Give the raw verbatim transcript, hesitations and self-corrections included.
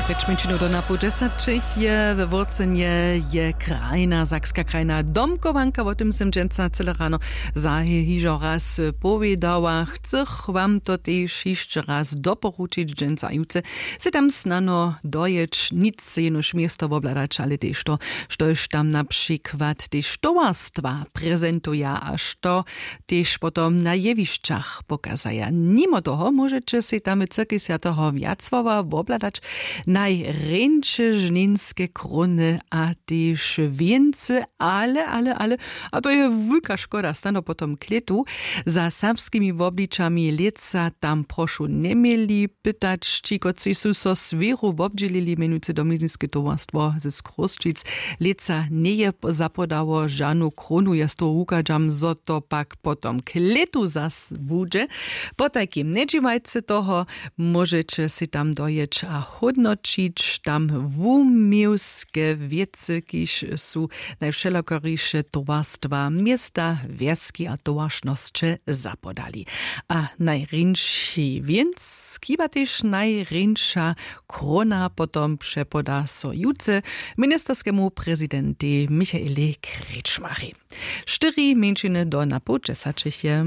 Pjeć mjeńšinow do napoł dźesaćich je we wórcenje, je krajna sakska krajna domkowanka. Wo tym sym dźensa cyle rano za hižo raz powědała. Chcych wam to tež hišće raz doporučić dźensa jutře. Sy tam snano dojeć, nic jenož město wobhladać, ale tež to, štož tam na přikład tež towarstwa prezentuja a što tež potom na jewišćach pokazaja. Nimo toho móžeće sej tam w cyrkej swjateho wjacława wobhladać najrjeńše žninske króny a tež wěncy, ale ale ale, a to je wulka škoda, snano potom klětu za serbskimi wobličami lětsa tam prošu njeměli pytać, ći kotřiž su so swěru wobdźělili, mjenujcy domizniske towarstwo z Chrósćic, lětsa njeje zapodało žanu krónu. Ja z toho wuchadźam, zo to pak potom klětu zas budźe. Potajkim njedźiwajce toho, móžeće sej tam dojěć a hódnoćić tam wuměłske wěcy, kiž su najwšelakoriše towarstwa, města, wjeski a towaršnosće zapodali. A najrjeńši wěnc, chiba tež najrjeńša króna potom přepoda so jutře ministerskemu prezidentej Michaelej Kretschmachej. Štyri mjeńšiny do napoł dźesaćich je.